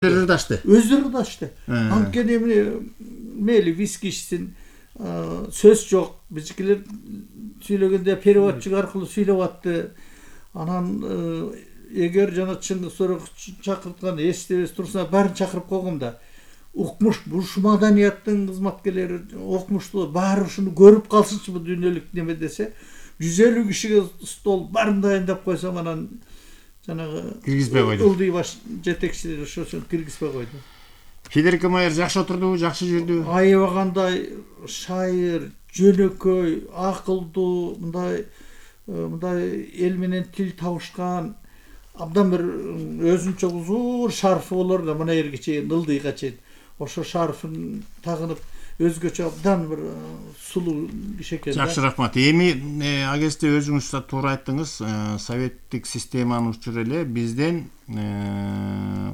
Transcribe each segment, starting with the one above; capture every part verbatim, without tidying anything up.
Өздөрү ырдашты. Өздөрү ырдашты. Анткени мейли виски ичсин, сөз жок. Bizikler сүйлөгөндө переводчик аркылуу сүйлөп атты. Анан эгер жана Чыңгыз Сороков чакырткан эстебес турса, баарын чакырып койгом да. Укмуш, буш маданияттын кызматкерлери, окумуштуу баары ушуну көрүп калсынчы бу дүйнөлүк неме десе, жүз элүү кишиге стол баарын дайындап койсом, анан жанагы киргизбей койду. Ылдый баш жетекчилери ошону киргизбей койду. Федерика Майер жакшы отурду, жакшы жүрдү. Аябагандай шайыр, жөнөкөй, акылдуу, мындай мындай эл менен тил табышкан, абдан бир өзүнчө узур шарфы болор да, мына жерге чейин, ылдыйга чейин. Ошо шарфын тагынып, өзгөчө абдан бир сулуу киши экен. Жакшы, рахмат. Эми агесте өзүңүз да туура айттыңыз, советтик системаны учур эле бизден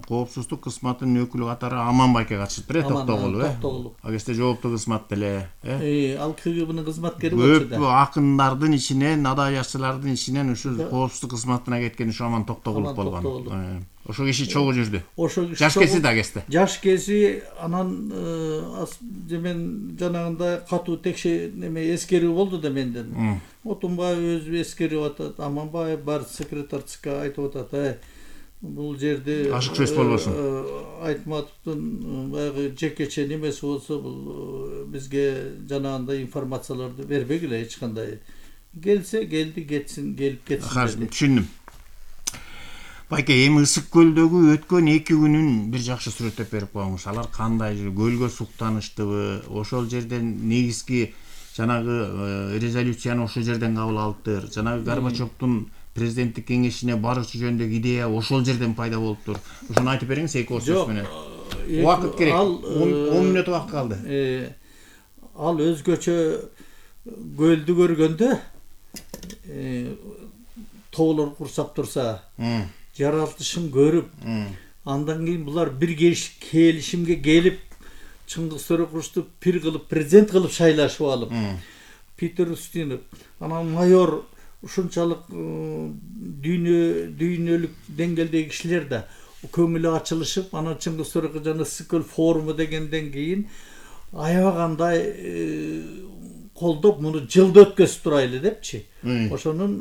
коопсуздук кызматынын өкүлү катары Аман байке катышыптыр, э, Токтогулов, э. Токтогулов. Агесте жоопдуу кызмат деле, э. Ал КГБнын кызматкери болчу да. Көп акындардын ичинен, адабиятчылардын ичинен ушу коопсуздук кызматына кеткен ушу Аман Токтогулов болгон. Ошо киши чогуу жүрдү. Ошо киши жаш кези да агесте. Жаш кези, анан мен жанагындай катуу текше неме эскерүү болду да менден. Отунбаев өзү эскерип атат, Аманбаев бар секретарь ЦК айтып атат, бул жерде ашык сөз болбосун. Айтматовдун баягы жекече немеси болсо, бул бизге жанагындай информацияларды бербегиле эч кандай. Келсе келди, кетсин, келип кетсин. Түшүндүм. Байке, эми Ысык көлдөгү өткөн эки күнүн бир жакшы сүрөттөп берип коюңуз. Алар кандай, көлгө суктаныштыбы? Ошол жерден негизги жанагы резолюцияны ошол жерден кабыл алыптыр. Жанагы Горбачевдун президенттик кеңешине барышы жөнүндөгү идея ошол жерден пайда болуптур. Ошону айтып бериңиз эки ооз сөз менен. Убакыт керек. он мүнөт убакыт калды. Ал өзгөчө көлдү көргөндө, тоолор курсап турса, жаралтышын көрүп, андан кийин булар бир келишимге келип, Чыңгыз Сороковичту пир кылып, президент кылып шайлашып алып, Питер Устинов, анан майор, ушунчалык дүйнө дүйнөлүк деңгээлдеги кишилер да көңүлү ачылышып, анан Чыңгыз Сороков жана Ысык көл форуму дегенден кийин аябагандай колдоп, муну жылда өткөзүп турайлы депчи. Ошонун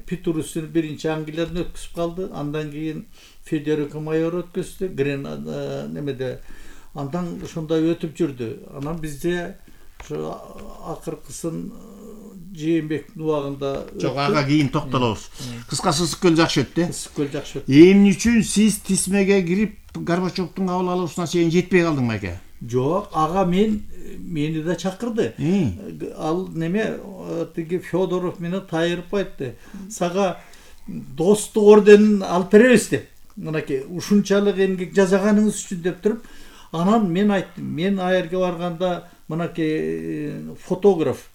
Питер Устинов биринчи Англиядан өткөзүп калды, андан кийин Федерика Майор өткөздү, Гренада немеде. Андан ошондой өтүп жүрдү. Анан бизде ошо акыркысын Жээнбектин убагында жок, ага кийин токтолобуз. Кыскасы Ысык көл жакшы өттү. Ысык көл жакшы өттү. Эмне үчүн сиз тизмеге кирип Горбачевдун кабыл алуусуна чейин жетпей калдың байке? Жок, ага мен мени да чакырды. Ал неме тиги Федоров менен Тайырып айтты. Сага достук орденин алып беребиз деп. Мынакей ушунчалык эмгек жасаганыңыз үчүн деп туруп, анан мен айттым, мен аерге барганда мынакей фотограф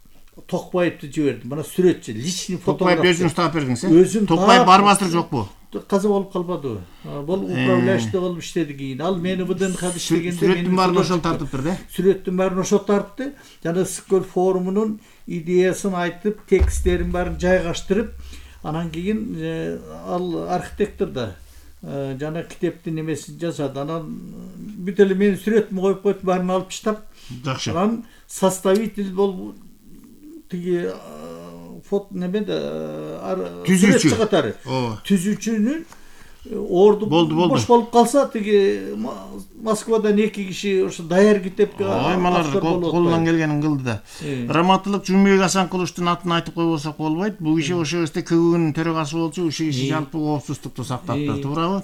Токпаевди жибердим. Мына сүрөтчү, личный фотограф. Токпаев өзүңүз таап бердиңиз, э? Токпаев барбастыр жокпу? Каза болуп калбадыбы? Бул управляющий болуп иштеди кийин. Ал мени ВДНХ иштегенде сүрөттүн баарын ошол тартыптыр, да? Сүрөттүн баарын ошол тартты. Жана Ысык көл форумунун идеясын айтып, тексттерин баарын жайгаштырып, анан кийин ал архитектор да жана китептин немесин жасады. Анан бүт эле менин сүрөтүмдү коюп койуп, баарын алып таштап, жакшы. Анан составитель болуп тиги фото немеде түзүүчү катары. Түзүүчүнүн орду бош болуп калса, тиги Москвадан эки киши ошо даяр китепке аймалар колунан келгенин кылды да. Раматылык Жумбек Асанкуловдун атын айтып койбосок болбойт. Бул киши ошо кезде КГБнын төрагасы болчу, ушул киши жалпы коопсуздукту сактаптыр, туурабы?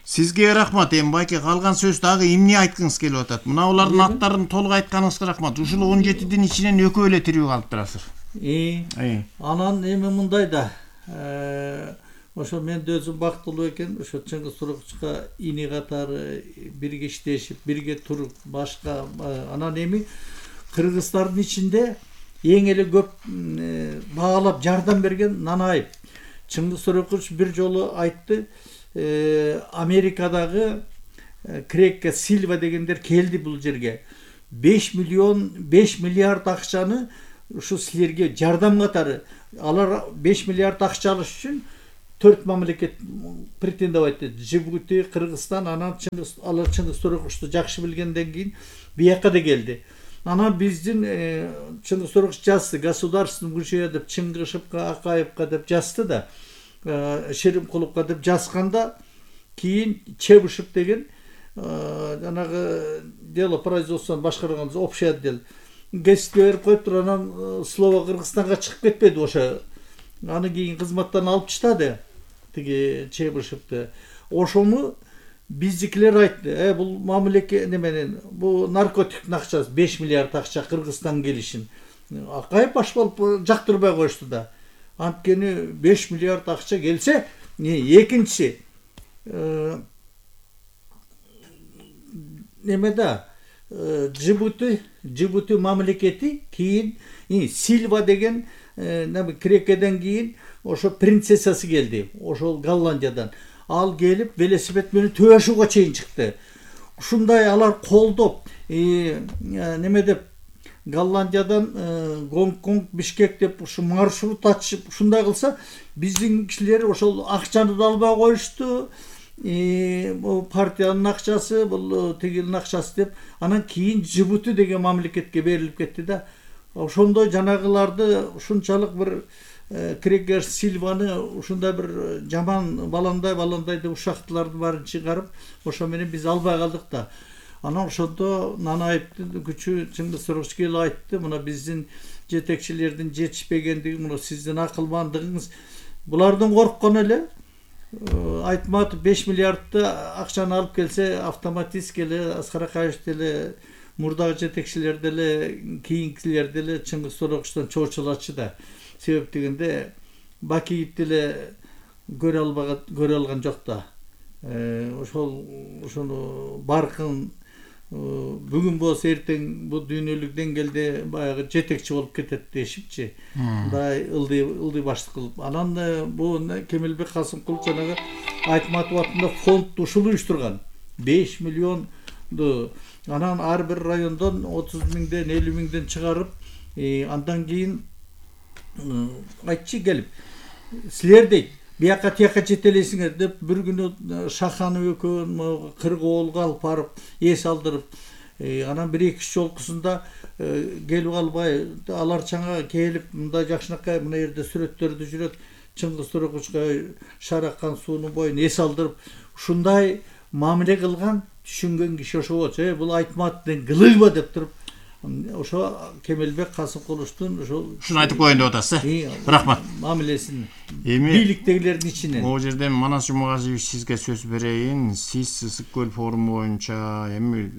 Сизге рахмат. Эми байке калган сөз дагы эмне айткыңыз келип атат? Мына улардын аттарын толук айтканыңызга рахмат. Ушул он жетидин ичинен экөө эле тирүү калыптырасыздар. Анан эми мындай да, ошо мен өзүм бактылуу экен, ошо Чыңгыз Сороковичка ини катары бирге иштешип, бирге туруп, башка анан эми кыргыздардын ичинде эң эле көп баалап жардам берген Нанаев. Чыңгыз Сорокович бир жолу айтты, Америкадагы Крекке Сильва дегендер келди бул жерге. беш миллион, беш миллиард акчаны ушу силерге жардам катары, алар беш миллиард акча алыш үчүн төрт мамлекет претендовать этти. Жибути, Кыргызстан, анан Чыңгыз, алар Чыңгыз Торокушты жакшы билгенден кийин бияка да келди. Анан биздин Чыңгыз Торокуш жазды, государственный музей деп Чыңгышевка, Акаевка деп жазды да, Шеримкуловка деп жазганда кийин Чебышев деген жанагы дело производствону башкарган общий отдел гезитке берип коюптур. Анан слово Кыргызстанга чыгып кетпеди ошо. Аны кийин кызматтан алып таштады тиги Чебышевди. Ошону биздикилер айтты, э бул мамлекет неменен, бул наркотиктин акчасы беш миллиард акча Кыргызстан келишин. Акаев баш болуп жактырбай коюшту да. Анткени беш миллиард акча келсе, экинчи немеда Жибути, Жибути мамлекети кийин Сильва деген Крекеден кийин ошо принцессасы келди, ошол Голландиядан. Ал келип велосипед менен Төбөшүүгө чейин чыкты. Ушундай алар колдоп, неме деп Голландиядан Гонконг, Бишкек деп ушу маршрут ачып, ушундай кылса, биздин кишилер ошол акчаны да албай коюшту. Бул партиянын акчасы, бул тигилин акчасы деп, анан кийин Жибути деген мамлекетке берилип кетти да. Ошондой жанагыларды ушунчалык бир Крекер Сильваны ушундай бир жаман баландай баландай деп ушактылардын баарын чыгарып, ошо менен биз албай калдык да. Анан ошондо Нанаевдин күчү Чыңгыз Торокуш келип айтты, мына биздин жетекчилердин жетишпегендиги, мына сиздин акылмандыгыңыз. Булардын корккону эле Айтматов беш миллиардты акчаны алып келсе, автоматически эле Аскар Акаев деле, мурдагы жетекчилер деле, кийинкилер деле Чыңгыз Торокуштан чоочулачу да. Себеп дегенде Бакиев деле көрө албаган, көрө алган жок да. Ошол ошону баркын бүгүн болсо эртең бул дүйнөлүк деңгээлде баягы жетекчи болуп кетет дешипчи. Мындай ылдый ылдый баштык кылып. Анан бул Кемелбек Касымкулов жанагы Айтматов атында фонд ушул уюштурган. беш миллионду анан ар бир райондон отуз миңден, элүү миңден чыгарып, андан кийин айтчы келип, силер дейт, бияка тияка жетелейсиңер деп бир күнү Шаханов экөөнү Кыргоолго алып барып, эс алдырып, анан бир эки жолкусунда келип албай, алар чаңа келип, мындай жакшынакай мына жерде сүрөттөрдү жүрөт, Чыңгыз Торокушка шараккан суунун боюн эс алдырып, ушундай мамиле кылган түшүнгөн киши ошо болчу. Э бул Айтматовдун кылыйба деп туруп, ошо Кемелбек Касымкуловдун ошо ушуну айтып коеюн деп атасыз, э? Рахмат. Мамилесин. Эми бийликтегилердин ичинен. Могу жерден Манас Жумагазиевич сизге сөз берейин. Сиз Ысык көл форуму боюнча эми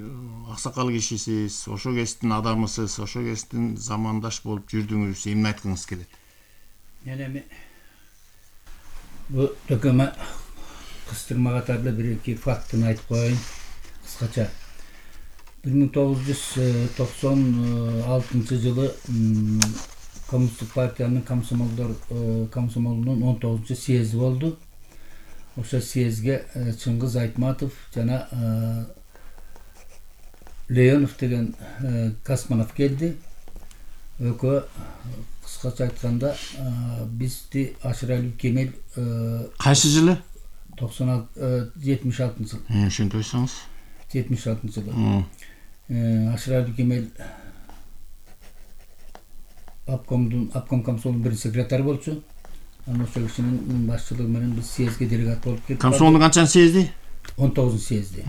аксакал кишисиз, ошо кесиптин адамысыз, ошо кесиптин замандаш болуп жүрдүңүз. Эмне айткыңыз келет? Эми бу төкөмө кыстырма катарда бир эки фактыны айтып коеюн кыскача. бир миң тогуз жүз токсон алтынчы жылы Коммунисттик партиянын комсомолдор комсомолунун он тогузунчу съезди болду. Ошо съездге Чыңгыз Айтматов жана Леонов деген космонавт келди. Экөө кыскача айтканда бизди Ашыралиев Кемел кайсы жылы? токсон алты жетимиш алтынчы жыл. Ошентип айтсаңыз. жетимиш алтынчы жылы. Ашыралиев Кемел обкомдун обком комсомолдун биринчи секретары болчу. Анан ошол кишинин башчылыгы менен биз съездге делегат болуп кеттик. Комсомолдун канчанчы съезди? он тогузунчу съезди.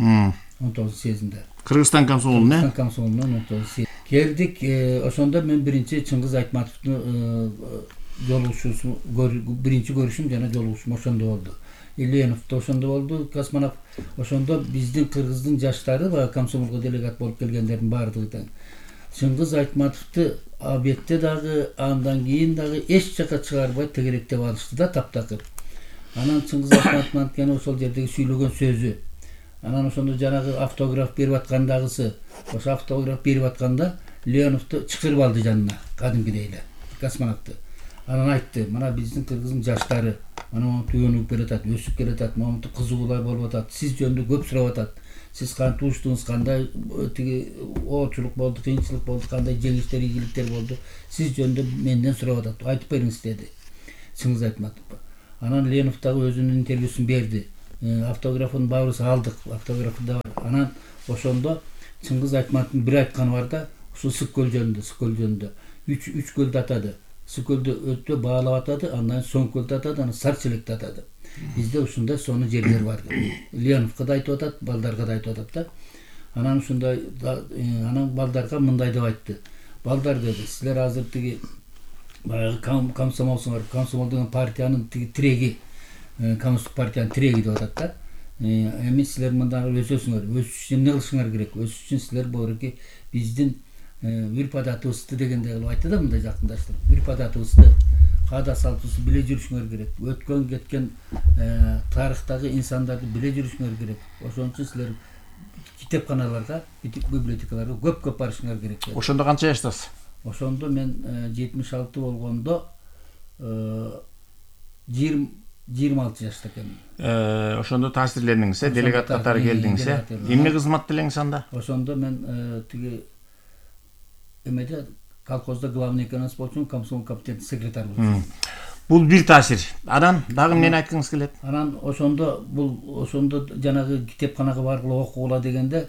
он тогузунчу съездинде. Кыргызстан комсомолунун, э? Кыргызстан комсомолунун он тогузунчу съезди. Келдик, ошондо мен биринчи Чыңгыз Айтматовдун жолугушуусу, биринчи көрүшүм жана жолугушум ошондо болду. Ильянов да ошондо болду, Космонов. Ошондо биздин кыргыздын жаштары баягы комсомолго делегат болуп келгендердин баардыгы тең. Чыңгыз Айтматовду обедте дагы, андан кийин дагы эч жака чыгарбай тегеректеп алышты да таптакыр. Анан Чыңгыз Айтматовдун анткени ошол жердеги сүйлөгөн сөзү. Анан ошондо жанагы автограф берип аткандагысы, ошо автограф берип атканда Леоновду чакырып алды жанына, кадимкидей эле, Космоновду. Анан айтты, мына биздин кыргыздын жаштары, мына түйөнүп келатат, өсүп келатат, момунту кызыгуулар болуп атат, сиз жөнүндө көп сурап атат. Сиз кантип туруштуңуз, кандай тиги оорчулук болду, кыйынчылык болду, кандай жеңиштер, ийгиликтер болду, сиз жөнүндө менден сурап атат, айтып бериңиз деди Чыңгыз Айтматов. Анан Ленов дагы өзүнүн интервьюсун берди. Автографын баарыбыз алдык. Автографы да бар. Анан ошондо Чыңгыз Айтматовдун бир айтканы бар да, ушул Сык көл жөнүндө, Сык көл жөнүндө. Үч үч көлдү атады. Сык көлдү өтө баалап атады, андан Соң көлдү атады, анан Сарчелекти атады. Бизде ушундай сонун жерлер бар. Леновго да айтып атат, балдарга да айтып атат да. Анан ушундай анан балдарга мындай деп айтты. Балдар деди, силер азыр тиги баягы комсомолсуңар, комсомол деген партиянын тиги тиреги, коммунисттик партиянын тиреги деп атат да. Эми силер мындай өсөсүңөр, өсүш үчүн эмне кылышыңар керек? Өсүш үчүн силер боорки биздин Үрпадатыбызды дегендей кылып айтты да, мындай жакындаштырып. Үрпадатыбызды, каада салтыбызды биле жүрүшүңөр керек. Өткөн кеткен тарыхтагы инсандарды биле жүрүшүңөр керек. Ошон үчүн силер китепканаларга, библиотекаларга көп-көп барышыңар керек. Ошондо канча жаштасыз? Ошондо мен жетимиш алты болгондо жыйырма алты жашта экенмин. Ошондо таасирлендиңиз, э, делегат катары келдиңиз, э? Эмне кызмат делеңиз анда? Ошондо мен тиги эмеде колхозда главный экономист болчумун, комсомол комитетинин секретары болчумун. Бул бир таасир. Анан дагы эмнени айткыңыз келет? Анан ошондо бул ошондо жанагы китепканага баргыла окугула дегенде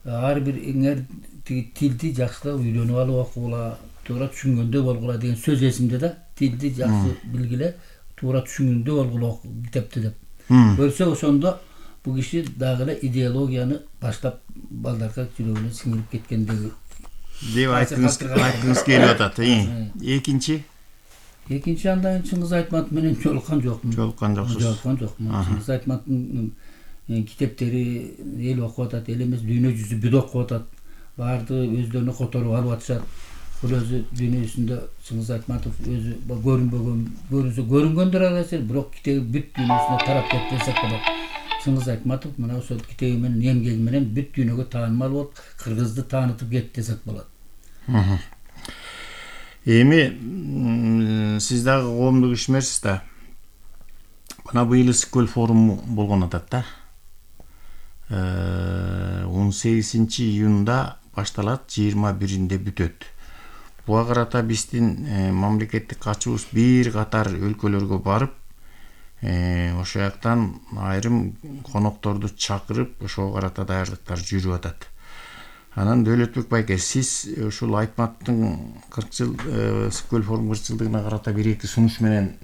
ар бир эңер тиги тилди жакшылап үйрөнүп алып окугула, туура түшүнгөндөй болгула деген сөз эсимде да. Тилди жакшы билгиле, туура түшүнгөндөй болгула китепти деп. Көрсөк ошондо бул киши дагы эле идеологияны баштап балдарга жүрөгүнө сиңирип кеткендеги деп айткыңыз айткыңыз келип атат. Экинчи Экинчи андан Чыңгыз Айтматов менен жолуккан жокмун. Жолуккан жоксуз. Жолуккан жокмун. Чыңгыз Айтматовдун китептери эл окуп атат, эл эмес дүйнө жүзү бүт окуп атат. Баарды өздөрүнө которуп алып атышат. Бул өзү дүйнөсүндө Чыңгыз Айтматов өзү көрүнбөгөн, көрүнсө көрүнгөндөр арасы, бирок китеби бүт дүйнөсүнө тарап кетти десек болот. Чыңгыз Айтматов мына ошол китеби менен эмгеги менен бүт дүйнөгө таанымал болуп, кыргызды таанытып кетти десек болот. Эми сиз дагы коомдук ишмерсиз да. Мына быйыл Сык көл форуму болгон атат да. он сегизинчи июнда башталат, жыйырма биринде бүтөт. Буга карата биздин мамлекеттик катчубуз бир катар өлкөлөргө барып, ошол жактан айрым конокторду чакырып, ошого карата даярдыктар жүрүп атат. Анан Дөөлөтбек байке, сиз ушул Айтматовдун кырк жыл Сык көл форум кырк жылдыгына карата бир эки сунуш менен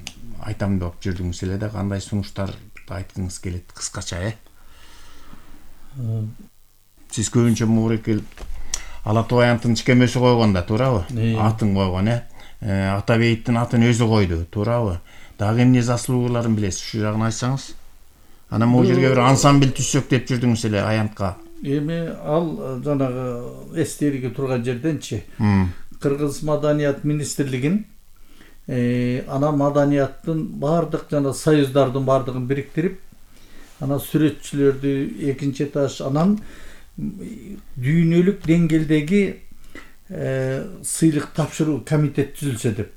айтам деп жүрдүңүз эле да, кандай сунуштарды айткыңыз келет кыскача, э? Сиз көбүнчө мурекел Ала Тубаянтын чикемеси койгон да, туурабы? Атын койгон, э? Ата Бейиттин атын өзү койду, туурабы? Дагы эмне заслугаларын билесиз, ушу жагын айтсаңыз? Анан могу жерге бир ансамбль түзсөк деп жүрдүңүз эле аянтка. Эми ал жанагы эстелиги турган жерденчи Кыргыз маданият министрлигин ана маданияттын бардык жана союздардын бардыгын бириктирип, ана сүрөтчүлөрдү экинчи этаж, анан дүйнөлүк деңгээлдеги сыйлык тапшыруу комитет түзүлсө деп.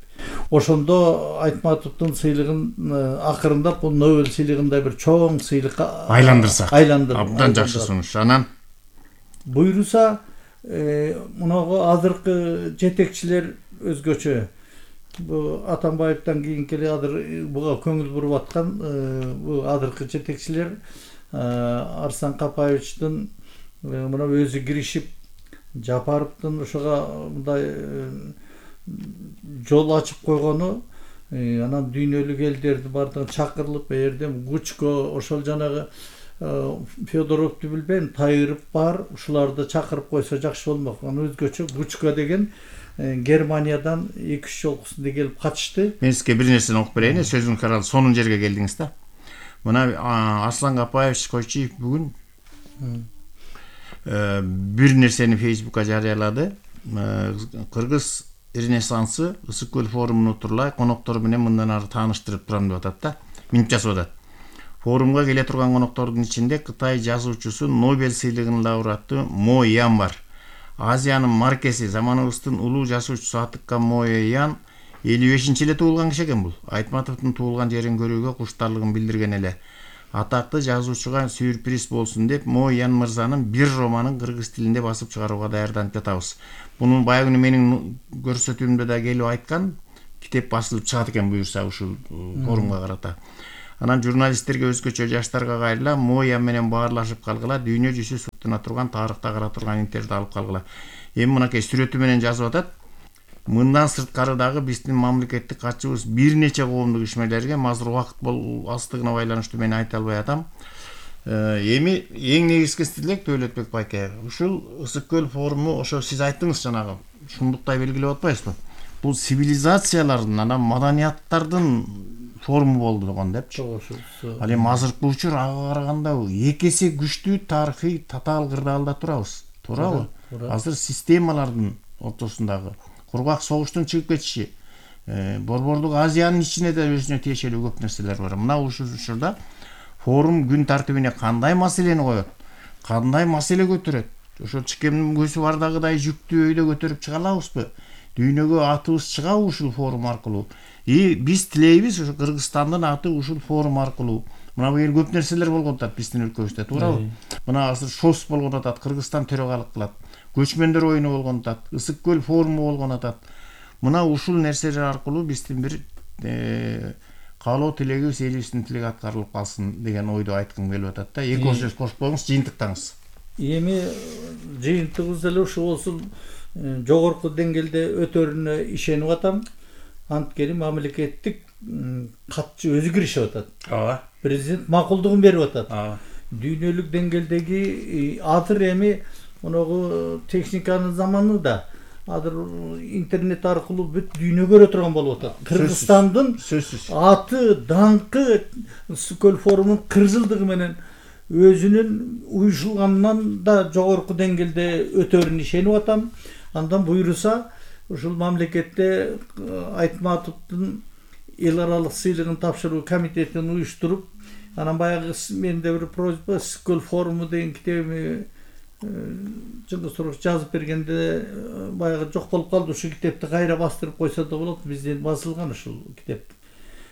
Ошондо Айтматовдун сыйлыгын акырындап бул Нобель сыйлыгындай бир чоң сыйлыкка айландырсак. Айландырып. Абдан жакшы сунуш. Анан буйруса, мунагу азыркы жетекчилер өзгөчө. Бу Атамбаевден кийинки эле азыр буга көңүл буруп аткан бу азыркы жетекчилер Арсан Капаевичтин мына өзү киришип, Жапаровдун ошого мындай жол ачып койгону, анан дүйнөлүк элдерди бардыгы чакырылып, эрдем Гучко, ошол жанагы Федоровду билбейм, Тайырып бар, ушуларды чакырып койсо жакшы болмок. Анан өзгөчө Гучко деген Германиядан эки үч жолкусунда келип катышты. Мен сизге бир нерсени окуп берейин, сөзүңүз карал, сонун жерге келдиңиз да. Мына Арслан Капаевич Койчиев бүгүн бир нерсени Фейсбукка жарыялады. Кыргыз Ренессансы Сык көл форумуна турулай коноктору менен мындан ары тааныштырып турам деп атат да. Минт жасап атат. Форумга келе турган коноктордун ичинде Кытай жазуучусу, Нобель сыйлыгынын лауреаты Мо Ян бар. Азиянын маркеси, заманыбыздын улуу жазуучусу Атыкка Мо Ян элүү бешинчи эле туулган киши экен бул. Айтматовдун туулган жерин көрүүгө куштарлыгын билдирген эле. Атактуу жазуучуга сюрприз болсун деп Мо Ян мырзанын бир романын кыргыз тилинде басып чыгарууга даярданып жатабыз. Бунун баягы күнү менин көрсөтүүмдө да келип айткан, китеп басылып чыгат экен буюрса ушул форумга карата. Анан журналисттерге өзгөчө жаштарга кайрыла, моя менен баарлашып калгыла, дүйнө жүзү суттуна турган, тарыхта кара турган интервью алып калгыла. Эми мынакей сүрөтү менен жазып атат. Мындан сырткары дагы биздин мамлекеттик катчыбыз бир нече коомдук ишмерлерге азыр убакыт бол аздыгына байланыштуу мен айта албай атам. Эми эң негизги стилек Дөөлөтбек байке, ушул Ысык көл форуму ошо сиз айттыңыз жанагы, шундуктай белгилеп атпайсызбы? Бул цивилизациялардын, анан маданияттардын форуму болду дегон депчи. Ал эми азыркы учур ага караганда эки эсе күчтүү тарыхый татаал кырдаалда турабыз. Туурабы? Азыр системалардын ортосундагы кургак согуштун чыгып кетиши, Борбордук Азиянын ичинде да өзүнө тиешелүү көп нерселер бар. Мына ушул учурда форум күн тартибине кандай маселени коет, кандай маселе көтөрөт? Ошо чикемдин көзү бардагыдай жүктүү өйдө көтөрүп чыга алабызбы? Дүйнөгө атыбыз чыгабы ушул форум аркылуу? И биз тилейбиз ушу Кыргызстандын аты ушул форум аркылуу. Мына бу эл көп нерселер болгон атат биздин өлкөбүздө, туурабы? Мына азыр ШОС болгон атат, Кыргызстан төрагалык кылат. Көчмөндөр оюну болгон атат, Ысык көл форуму болгон атат. Мына ушул нерселер аркылуу биздин бир каалоо тилегибиз, элибиздин тилеги аткарылып калсын деген ойду айткым келип атат да. Эки оор сөз кошуп коюңуз, жыйынтыктаңыз. Эми жыйынтыгыбыз деле ушул болсун, жогорку деңгээлде өтөрүнө ишенип атам. Анткени мамлекеттик катчы өзү киришип атат. Ооба. Президент макулдугун берип атат. Ооба. Дүйнөлүк деңгээлдеги азыр эми моногу техниканын заманында азыр интернет аркылуу бүт дүйнө көрө турган болуп атат. Кыргызстандын аты, даңкы Ысык көл форумунун кырк жылдыгы менен өзүнүн уюшулганынан да жогорку деңгээлде өтөрүн ишенип атам. Андан буйруса ушул мамлекетте Айтматовдун эл аралык сыйлыгын тапшыруу комитетин уюштуруп, анан баягы менде бир просьба, Ысык көл форуму деген китебими Жыңгыз Туруш жазып бергенде баягы жок болуп калды. Ушул китепти кайра бастырып койсо да болот. Бизден басылган ушул китеп.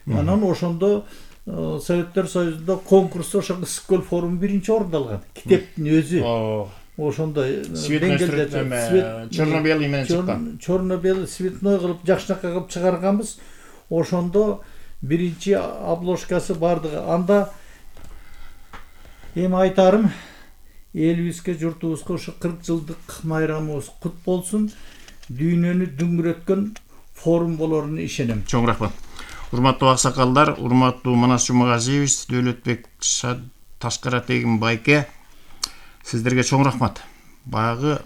Анан ошондо Советтер Союзунда конкурста ошо Ысык көл форуму биринчи орунду алган. Китептин өзү. Ошондо деңгээлде черно-белый менен чыккан. Черно-белый цветной кылып жакшынакай кылып чыгарганбыз. Ошондо биринчи обложкасы бардыгы. Анда эми айтарым, элибизге, журтубузга ошо кырк жылдык майрамыбыз кут болсун. Дүйнөнү дүңгүрөткөн форум болоруна ишенем. Чоң рахмат. Урматтуу аксакалдар, урматтуу Манас Жумагазиевич, Дөөлөтбек Ташкаратегин байке, сиздерге чоң рахмат. Баягы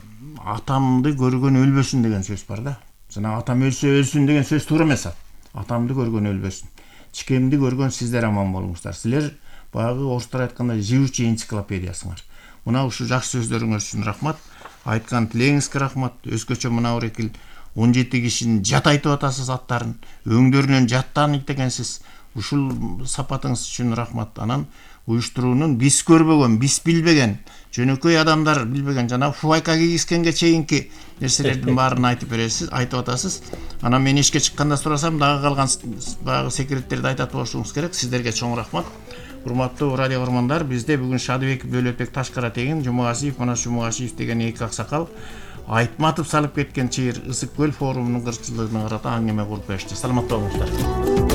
атамды көргөн өлбөсүн деген сөз бар да. Жана атам өлсө өлсүн деген сөз туура эмес. Атамды көргөн өлбөсүн. Чикемди көргөн сиздер аман болуңуздар. Силер баягы орустар айткандай живучий энциклопедиясыңар. Мына ушул жакшы сөздөрүңөр үчүн рахмат. Айткан тилегиңизге рахмат. Өзгөчө мына орекил он жети кишинин жат айтып атасыз аттарын, өңдөрүнөн жаттанып экенсиз. Ушул сапатыңыз үчүн рахмат. Анан уюштуруунун биз көрбөгөн, биз билбеген, жөнөкөй адамдар билбеген, жана фуайка кийгизгенге чейинки нерселердин баарын айтып бересиз, айтып атасыз. Анан мен ишке чыкканда сурасам, дагы калган баягы секреттерди айтат болушуңуз керек. Сиздерге чоң рахмат. Урматтуу радио көрөрмандар, бизде бүгүн Шадыбек Дөөлөтбек Ташкаратегин, Жумагазиев, Манас Жумагазиев деген эки аксакал Айтматов салып кеткен чыйыр Ысык көл форумунун кырк жылдыгына карата аңгеме куруп беришти. Саламатта болуңуздар.